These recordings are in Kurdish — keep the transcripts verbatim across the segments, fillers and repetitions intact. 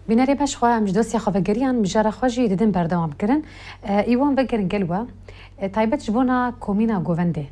Bînerê beş xwe em ji dosya xwe vegeriyan, mijara xwe jî didin berdewam kirin. E, îwan vegerin gel we. E, taybet ji bona komîna govendê.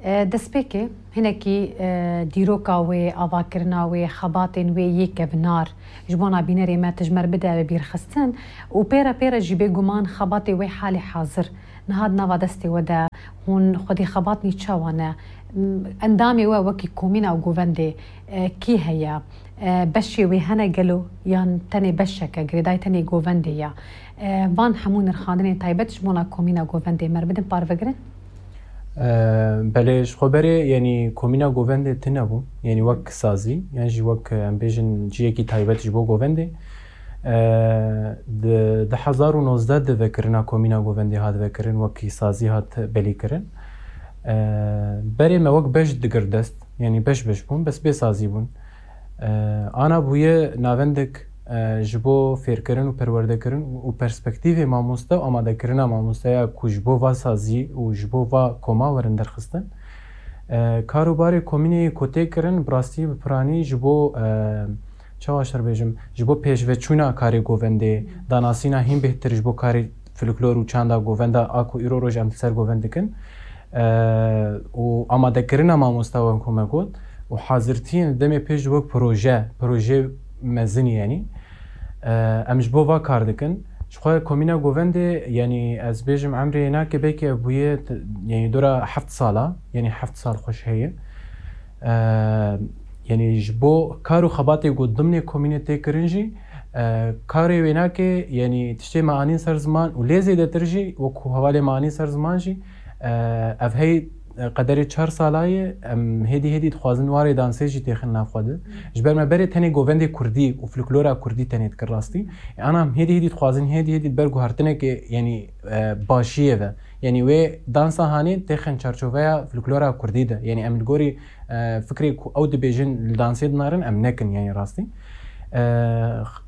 E, destpêkê hinekî, e, dîroka wê, avakirina wê, xebatên wê yê kevnar ji bona bînerê me tu ji me re bide bibîrxistin û pê re pê re jî bêguman xebatê wê halê hazir niha di nava destê we de hûn xwedî xebatnî çawa ne? M-, endamê we wekî komîna û govendê, e, kî heye? E, beşê wê hene gelo yan tenê beşeke girêdayî tenê govendê ya? E, van hemû nirxandinên taybet ji bona komîna govendê me re bidin parvegirin. E, belê, ji xwe berê, yanî komîna govendê tune bû, yanî wek sazî, yan jî wek, em bêjin, ciyekî taybet ji bo govendê. E, di du hezar û nozdeh de vekirina komîna govendê hat vekirin, wekî sazî hat belîkirin. E, berê me wek beş digir dest, yanî beş beş bûn, bes bê sazî bûn. E, ana bûye navendek, e, ji bo fêrkirin û perwerdekirin û perspektîvê mamoste û amadekirina mamosteya ku ji bo va sazî û ji bo va koma werin derxistin. E, kar û barê komînê ku tê kirin, bi rastî, bi piranî ji bo, e, çawa şer bêjim, ji bo pêşveçûna karê govendê, danasîna hîn bêhtir ji bo karê folklor û çanda govenda a ku îro roj em li ser govend dikin, e, û amadekirina mamosta, wek ku me got, û hazirtiyên demê pêş wek proje, proje mezin, yanî, e, em ji bo va kar dikin. Ji xwe komîna govendê, yanî, ez bêjim, emrê yê nake, belkî ev bûye, t-, yanî, dora heft sala, yanî heft sal xweş heye. E, yanî, ji bo kar û xebatê ku dimnê komînê tê kirin jî, e, karê wê nake, yanî, tiştê me anîn ser ziman û lê zêdetir jî, wekû hevalê me anîn ser ziman jî, e, ev hey, e, qederê çar sala ye, em hêdî hêdî dixwazin warê dansê jî têxin nav xwe de. Ji ber me berê tenê govendê kurdî û folklora kurdî tenê dikir rastî. E, ana em hêdî hêdî dixwazin, hêdî hêdî ber guhertinekê, yanî, e, başiyê ve. Yanî wê dansa hanê têxin çarçoveya folklora kurdî de. Yanî em li gorî, e, fikrê ku ew dibêjin li dansê dinarin, em nekin, yanî rastî. E,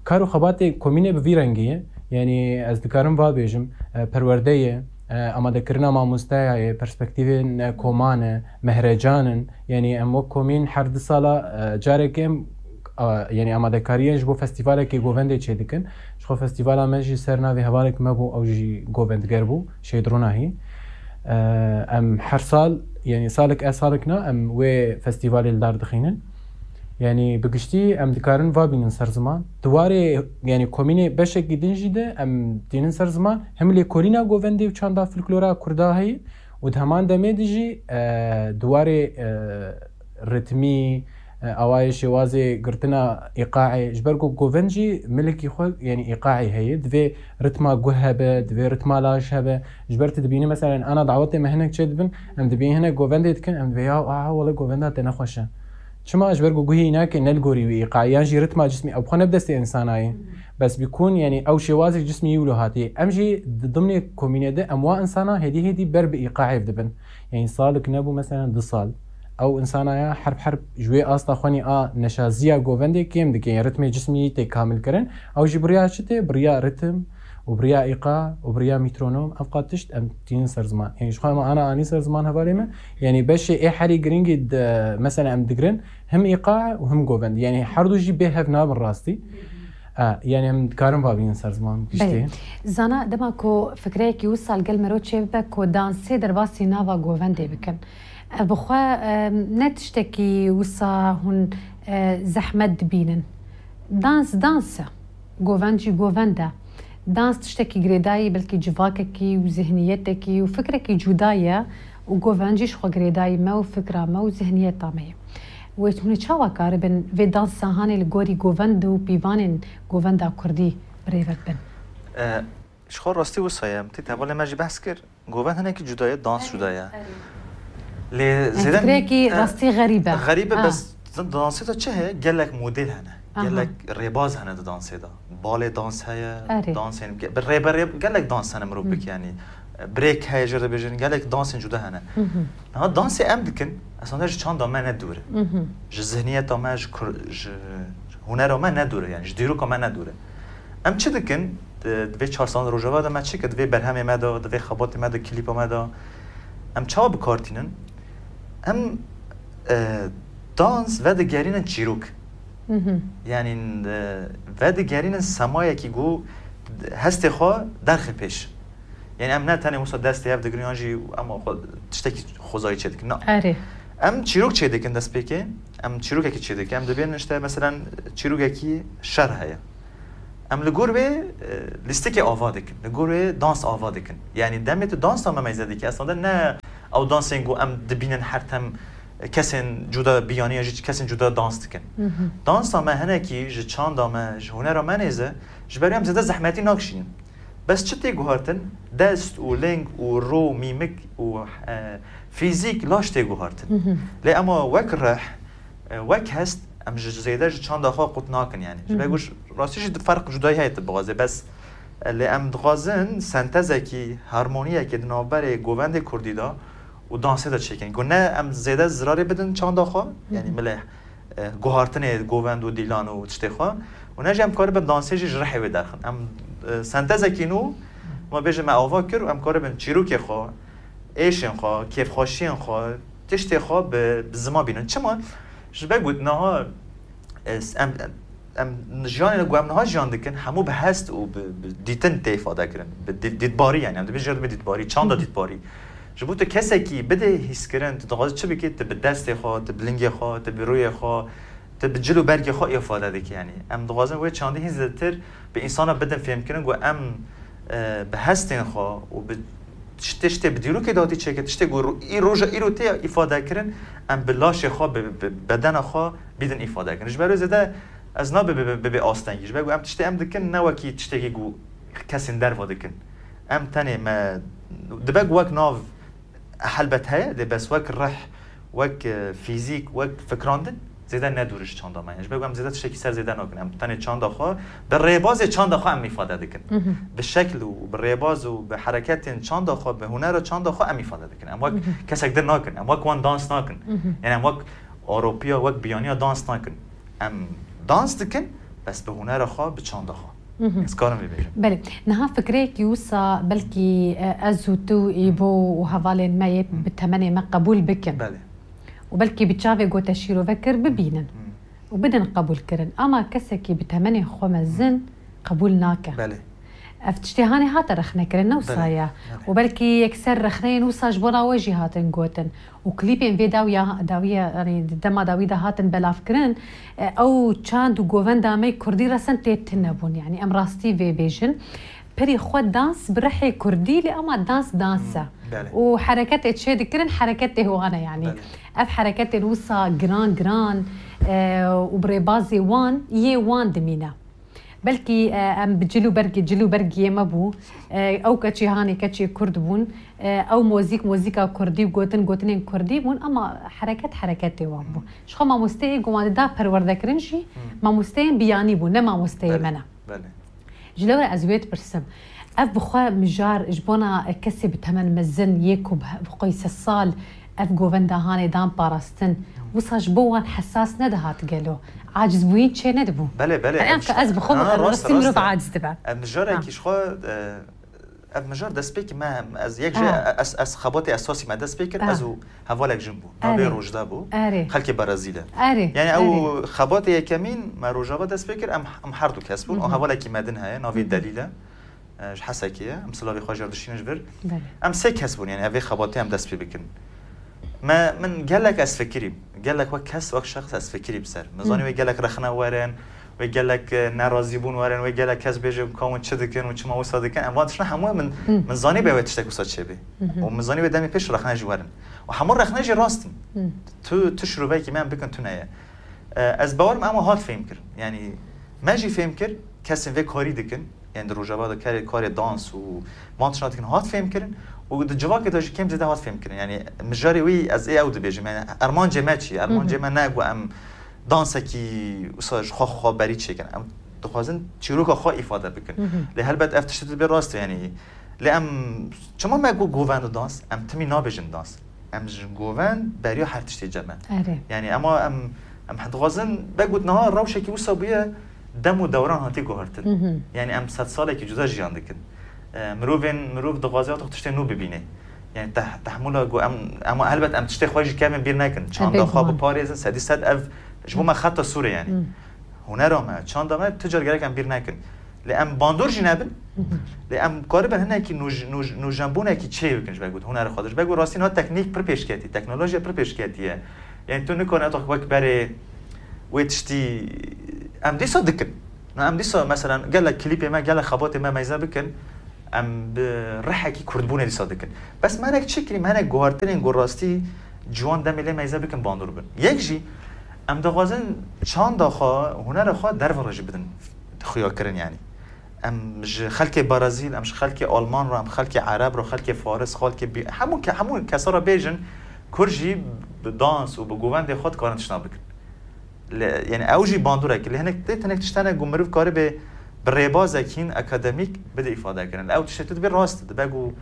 kar û xebatê komînê bi vî rengî ye. Yanî ez dikarim va bêjim, e, perwerde ye, e, amadekirina mamosteya ye, perspektîvên, e, koman e, mehrecan in. Yanî em wek komîn her du sala, e, carekê em, a, yanî amadekariyên ji bo festîvalekê govendê çêdikin. Ji xwe festîvala me jî ser navê hevalek me bû, ew jî govendger bû, Şêd Ronahî. E, em her sal, yanî salek e salek na, em wê festîvalê li dar dixînin. Yanî bi giştî em dikarin va bînin ser ziman. Di warê, yanî komînê beşekî din jî de em tînin ser ziman. Hem lêkolîna govendê û çanda folklora kurda heye û di heman demê de jî, e, di warê, e, ritmî, e, awayê şêwazê girtina îqaê, ji ber ku govend jî milekî xwe, yanî îqaê heye, divê ritma guh hebe, divê ritma laj hebe. Ji ber tu dibînî, meselen, ana dawetê me hinek çê dibin, em dibînî hinek govendê dikin, em dibê ya, aha, wele govenda te nexweş e. Çima? Ji ber ku guhê wî nake ne li gorî wî îqaê, yan jî ritma cismî, ew xwe ne bi destê insana ye. Bes bikûn, yanî ew şêwazê cismî wî wilo hatiye. Em jî di dimnê komînê de em wa insana hêdî hêdî ber bi îqaê dibin. Yanî salik nebû, meselen, du sal. Ew insana ya herb herb ji wê asta xwenî a neşaziya govendê kêm dike, yanî ritmê cismî yî tê kamil kirin. Ew jî bi riya çi tê? Bi riya ritim û bi riya îqa û bi riya mîtronom, ev qat tişt em tînin ser ziman. Yanî ji xwe me ana anî ser ziman hevalê me. Yanî beşê ê herî giringî de, mesela, em digirin, him îqa û him govend. Yanî her du jî bê hev nabin rastî. E, yanî em dikarin va bînin ser ziman giştî. Belê. Zana, dema ku fikreyekî wisa li gel mero çê bibe ku dansê derbasî nava govendê bikin, ev bi xwe, e, ne tiştekî wisa hûn, e, zehmet dibînin. Dans, dans e. Govend jî govend e. Dans tiştekî girêdayî, belkî civakekî û zihniyetekî û fikrekî cuda ye û govend jî ji xwe girêdayî me û fikra me û zihniyeta me ye. Wê hûn ê çawa karibin vê dansa hanê li gorî govend û pîvanên govenda kurdî birêve bibin? E, ji xwe rastî wisa ye. Em tê hevalê me jî behs kir. Govend hinekî cuda ye, dans cuda ye. Lê zêde fikrekî, e, rastî xerîb e. Xerîb e, ha. Bes di dansê de çi heye? Gelek model hene. Aha. Gelek rêbaz hene di dansê de. Balê dans heye, erê, dansên ge-, bi rê be rê gelek dans hene mirov bike, yanî, e, break heye, jê re dibêjin, gelek dansên cuda hene. Niha dansê em dikin, esasında ji çanda me ne dûr e. Ji zihniyeta me, ji kur-, ji hunera me ne dûr e, yanî ji dîroka me ne dûr e. Em çi dikin? Di, di vê çar sal Rojava de me çi kir? Di vê berhemê me de, di vê xebatê me de, klîpa me de em çawa bi kar tînin? Em, e, dans vedigerînin çîrok. Mhm. Yanî, e, vedigerînin semayekî ku hestê xwe derxe pêş. Yanî em ne tenê wisa destê hev digirin yan jî em xwe tiştekî xwezayî çêdikin. Na. Erê. Em çîrok çêdikin destpêkê, em çîrokekî çêdikin. Em dibên işte meselen çîrokekî şer heye. Em li gor wê, e, lîstikê ava dikin, li gor wê dans ava dikin. Yanî demê tu dansa me meyze dikî, aslında ne ew dansên ku em dibînin her tem kesên cuda biyaniya jî kesên cuda dans dikin. Mhm. Dansa me hinekî ji çanda me, ji hunera me nêze, ji ber em zêde zehmetî nakişînin. Bes çi tê guhartin? Dest û ling û ro, mîmik û, e, fîzîk, laş tê guhartin. Mhm. Lê ema wek rih, e, wek hest, em ji zêde ji çanda xwe qut nakin yani. Ji ber Mhm. ku rastî jî di ferq cudayî heye tu bixwazê, bes, e, lê em dixwazin sentezekî, harmoniyekê di navberê govendê kurdî de û dansê de çêkin. Ku ne em zêde zirarê bidin çanda xwe, yani Mhm. milê, e, guhartinê govend û dîlan û tiştê xwe. Û ne jî em karibin dansê jî ji rihê wê derxin. Em, e, sentezekî nû, ma bêjin me ava kir û em karibin çîrokê xwe, êşên xwe, kêfxweşiyên xwe, tiştê xwe bi, bi ziman bînin. Çima? Ji ber ku niha, e, em, em jiyanê ku em niha jiyan dikin, hemû bi hest û bi, bi dîtin tê îfade kirin. Bi dî-, dîtbarî yani. Em dibêjin dîtbarî, çanda Hı hı. dîtbarî. Ji bo tu kesekî bidê hîskirin, tu dixwazî çi bikî, tu bi destê xwe, tu bi lingê xwe, tu bi rûyê xwe, tu bi cil û bergê xwe îfade dikî. Yani em dixwazin wê çandî hîn zêdetir bi însana bidin fêmkirin ku em, e, bi hestên xwe û bi tiştê, tiştê bi dîrokê de hatî çêkir, tiştê ku ro-, î roja îro tê îfade kirin, em bi laşê xwe, bi, bi bedena xwe bidin îfade kirin. Ji ber wê zêde ez nabe bi, bi, bi, bi astengî. Ji ber ku em tiştê em dikin ne wekî tiştekî ku kesên derva dikin. Em tenê me dibe ku wek nav helbet heye, dê bes wek rih, wek, e, fîzîk, wek fikrandin zêde ne dûr ji çanda me ye. Ji ber ku em zêde tiştekî ser zêde nakin. Em tenê çanda xwe, bi rêbazê çanda xwe em îfade dikin. Mhm. Bi şekl û bi rêbaz û bi hereketên çanda xwe, bi hunera çanda xwe em îfade dikin. Em wek Mhm. kesek din nakin. Em wek wan dans nakin. Mhm. Yani em wek Ewropiya, wek biyaniya dans nakin. Em dans dikin, bes bi hunera xwe, bi çanda xwe. Mhm. Ez karim vê bêjim. Belê. Niha fikreyekî wisa belkî, e, ez û tu, Îbo û hevalên me yê Hı. bi temenê me qebûl bikin. Belê. Û belkî bi çavê gote şîrove kir bibînin. Hı. Û bidin qebûlkirin. Ama kesekî bi temenê xwe mezin Hı. qebûl nake. Belê. Ev tiştê hanê hate rexnekirin, ne wisa Belê. ye. Belê. Û belkî yekser rexneyên wisa ji bona we jî hatin gotin. Û klîpên vê dawiya, dawiya, yanî di dema dawî de hatin belavkirin, e, ew çand û govenda me kurdî resen tê tune bûn. Yanî em rastî vê bêjin. Perî xwe dans bi rihê kurdî, lê ema dans dans e. Hmm, belê. Û hereketê çê dikirin, hereketê wan e yanî. Belê. Ev hereketên wisa giran giran, e, û bi rêbazê wan, yê wan dimîne. Belkî, e, em bi cil û bergê, cil û bergiyê me bû. E, ew keçê hanê keçê kurd bûn. E, ew mozîk, mozîka kurdî û gotin, gotinên kurdî bûn, ama hereket, hereketê wan bû. Hmm. Ji xwe mamosteyê ku wan dida perwerdekirin jî, Hmm. mamosteyên biyanî bûn, ne mamosteyê Belê, me ne. belê. Ji lewre ez wê dipirsim. Ev bi xwe mijar ji bona kesê bi temen mezin yê ku bi, bi xwe sed sal ev govenda hanê dan parastin. Wisa ji bo wan hesas nedihat gelo? Acizbûyîn çê nedibû? Belê, belê, Ev em ka ez bi xwe, Ha, em rast, rastî mirov rast e. aciz dibe. Em mijarekî Ha. ji xwe, e, ev mijar destpêkî me, em, ez yek jê, Ha. ez, ez xebatê esasî me dest pê kir, Ha. ez û hevalek jin bû. Navê Erê. Rojda bû. Erê. Xelkê Berezîl e. Erê, Yani ew erê. xebatê yekemîn me Rojava dest pê kir, em, em her du kes bûn. Hı hı. Û hevalekî me din heye, navê Hı hı. Delîl e. E, ji Hesekê ye. Em silavê xwe jê re dişînin ji vir. Belê. Em sê kes bûn, yani ev ê xebatê em dest pê bikin. Me, min gelek ez fikirîm. Gelek wek kes, wek şexs ez fikirîm ser. Min Hı. zanî wê gelek rexne werin, wê gelek, e, nerazîbûn werin, wê gelek kes bêje ka hûn çi dikin û çima wisa dikin. Em van tiştine hemû min, Hı. min zanî bê wê tiştek wisa çêbê. Hı hı. Û min zanî wê demê pêş rexne jî werin. Û hemû rexne jî rast in. Hı. Tu, tu şiroveyekî me em bikin tune ye. E, ez bawer me ema hat fêm kirin. Yani me jî fêm kir, kesên vê karî dikin. Yani di Rojava de karê, karê dans û van tiştan dikin hat fêm kirin. Û di civakê de jî kêm zêde hat fêm kirin. Yani mijarê wî ez ê ew dibêjim. Yani armancê me çi ye? Armancê Hı hı. me ne ku em dansekî wisa ji xwe xwe berî çêkin. Em dixwazin çîroka xwe îfade bikin. Hı hı. Lê helbet ev tiştê tu dibê rast e, yani. Lê em çima me got govend û dans? Em timî nabêjin dans. Em ji govend beriya her tiştê cem e. Erê. Yani ema em, em dixwazin, be got niha rewşekî wisa bûye, dem û dewran hatî guhertin. Hı hı. Yani em sed salekî cuda jiyan dikin. E, mirovên, mirov dixwaze ya tiştê nû bibîne. Yani teh-, tehmûla ku em, ema helbet em tiştê xwe jî kevin bîr nekin. Çanda Ebed xwe wan. biparêzin, sedî sed ev ji bo Hı. me xeta sûr e yani. Hı. hunera me, çanda me, tu car gerek em bîr nekin. Lê em bandor jî nebin. Lê em karibin hinekî nûj-, nûj-, nûjenbûnekî çê bikin ji ber ku hunera xwe de. Ji ber ku rastî niha teknîk pir pêşketî, teknolojiya pir pêşketî ye. Yani tu nikane wek berê wê tiştî em dîsa dikin. Na em dîsa, mesela, gelek klîpê me, gelek xebatê me meyze bikin, em bi rihekî kurdbûnê dîsa dikin. Bes me hinek çi kirî, me hinek guhartinên ku rastî ciwan demê lê meyze bikin, bandor bin. Yek jî, em dixwazin çanda xwe, hunera xwe derve re jî bidin xuyakirin, yani. Em ji xelkê Brazîl, em ji xelkê Alman re, em xelkê Ereb re, xelkê Faris, xelkê bî-, hemû ke-, hemû kesa re bêjin, Kurd jî bi dans û bi govendê xwe dikarin tiştna bikin. Lê, yani ew jî bandorek, lê hinek tê, hinek tişt hene ku meriv karibe bi rêbazek hîn akademîk bide îfade kirin. Ew tiştê tu dibê rast, dibe ku,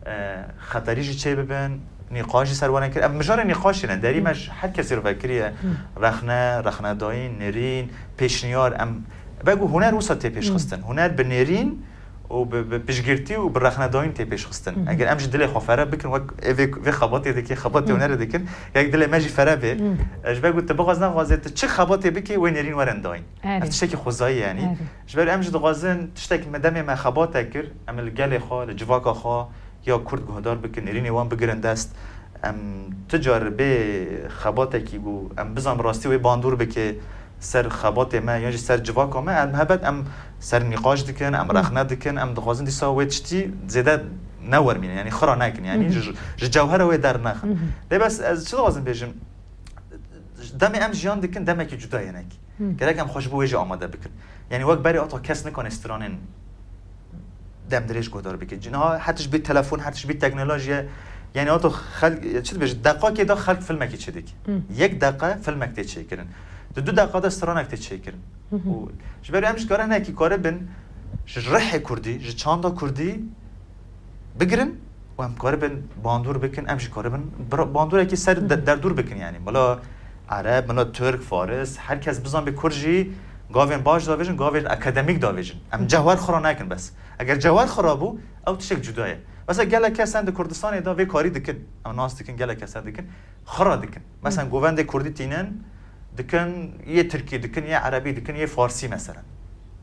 e, xeterî jî çê bibin, nîqaş jî ser wan kir. Ev mijarê nîqaşê ne, derî me ji her kesî re vekiriye. Rexne, rexnedayîn, nêrîn, pêşniyar, em, be ku huner wisa tê pêşxistin. Huner bi nêrîn û bi, bi piştgirtî û bi rexnedayîn tê pêşxistin. Eger em ji dilê xwe fere bikin, wek ê vê, vê xebatê dike, xebatê hunerê dikin, yek dilê me jî fere bê. E, ji ber ku tu bixwaz nexwazê, tu çi xebatê bikê, wê nêrîn werin dayîn. Erê. Ev tiştekî xwezayî, yanî. Erê. Ji ber em jî dixwazin tiştekî me demê me xebate kir, em li gelê xwe, li civaka xwe ya Kurd guhdar bikin, nêrînê wan bigirin dest. Em tu car bê xebatekî ku em bizan bi rastî wê bandor bike, ser xebatê me yan jî ser civaka me, em helbet em ser nîqaş dikin, em rexne dikin, em dixwazin dîsa wê tiştî zêde newermînin, yanî xira nekin, yanî ji, ji cewhera wê dernexin. Lê bes ez çi dixwazim bêjim, demê em jiyan dikin, demekî cuda ye hinekî. Gerek em xwe ji bo wê jî amade bikin. Yanî wek berê ata kes nikane stranên demdirêj guhdar bike. Niha her tişt bê telefon, her tişt bê teknolojiye. Yanî ata xelk, çi dibêje, deqakê de xelk filmekê çêdike. Yek deqa filmek tê çêkirin. Di du deqa de stranek tê çêkirin. Û ji ber em ji kare hinekî karibin ji rihê kurdî, ji çanda kurdî bigirin û em karibin bandor bikin, em jî karibin bir-, bandorekî ser de-, derdor bikin, yanî. Mila Ereb, mila Tirk, Faris, her kes bizan bê Kurd jî gavên baş davêjin, gavên akademîk davêjin. Em cewher xira nekin bes. Eger cewher xira bû, ew tiştek cuda ye. Mesela gelek kes hene di Kurdistanê de vê karî dikin. Em nas dikin, gelek kes hene dikin. Xira dikin. Mesela govendê Kurdî tînin, dikin, yê Tirkî dikin, yê Erebî dikin, yê Farsî mesela.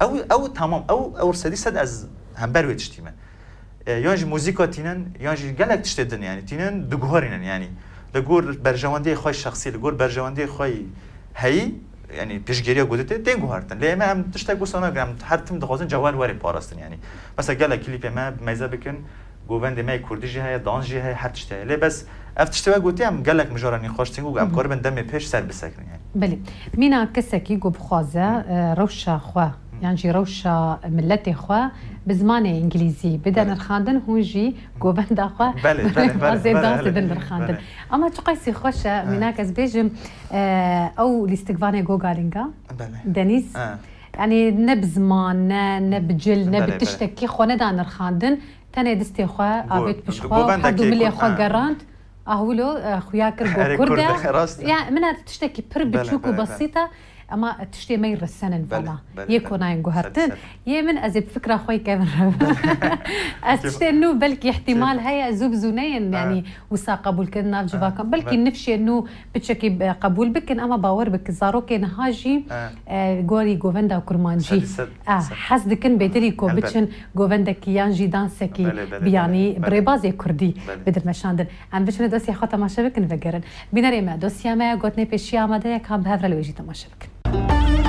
Ew, ew tamam, ew, ew sedî sed ez hember wê tiştî me. E, yan jî muzîka tînin, yan jî gelek tiştê din, yanî tînin, diguherînin, yanî. Li gor berjewendiyê xwe şexsî, li gor berjewendiyê xwe heyî, yanî piştgiriya gotê tê, tên guhertin. Lê me em tiştek wisa nakin, em her tim dixwazin cewher were parastin, yanî. Mesela gelek klîpê me meyze bikin, govendê me yê Kurdî jî heye, dans jî heye, her tişt heye. Lê bes ev tiştê we gotî, em gelek mijara nîqaş tînin ku em karibin demê pêş ser bisekin, yanî. Belê. Mîna kesekî ku bixwaze, e, rewşa xwe, yan jî rewşa miletê xwe bi zimanê îngilîzî bide nirxandin, hûn jî govenda xwe bi rêbazê dansê din nirxandin. Ama çiqasî xweş e, mînak ez bêjim, e, ew lîstikvanê Gogalinga, Denîz, yanî ne bi ziman, ne, ne bi cil, ne bi tiştekî xwe neda nirxandin, tenê distê xwe avêt pişt xwe, her du milê xwe gerand. Ahwilo, e, xuya kir got Kurd e. Ya, min ev tiştekî pir biçûk û besît e, ema tiştê me yê resen in vana. Yê konayên guhertin. Yê min ez ê bi fikra xwe yê kevin re. Ez tiştê nû belkî îhtîmal heye, zû bi zû neyên, yanî wisa qebûl kirin nav civakan. Belkî nifşê nû piçekî, e, qebûl bikin, ema bawer bike zarokê niha jî, e, gorî govenda kurmancî, e, hez dikin bêdilî ku biçin govendekî yan jî dansekî biyanî bi rêbazê kurdî bidin meşandin. Em biçine dosyaya xwe temaşe bikin, vegerin. Bînerê me, dosya me gotinê pêşiya amade ye, ka em bi hev re li wê jî temaşe bikin.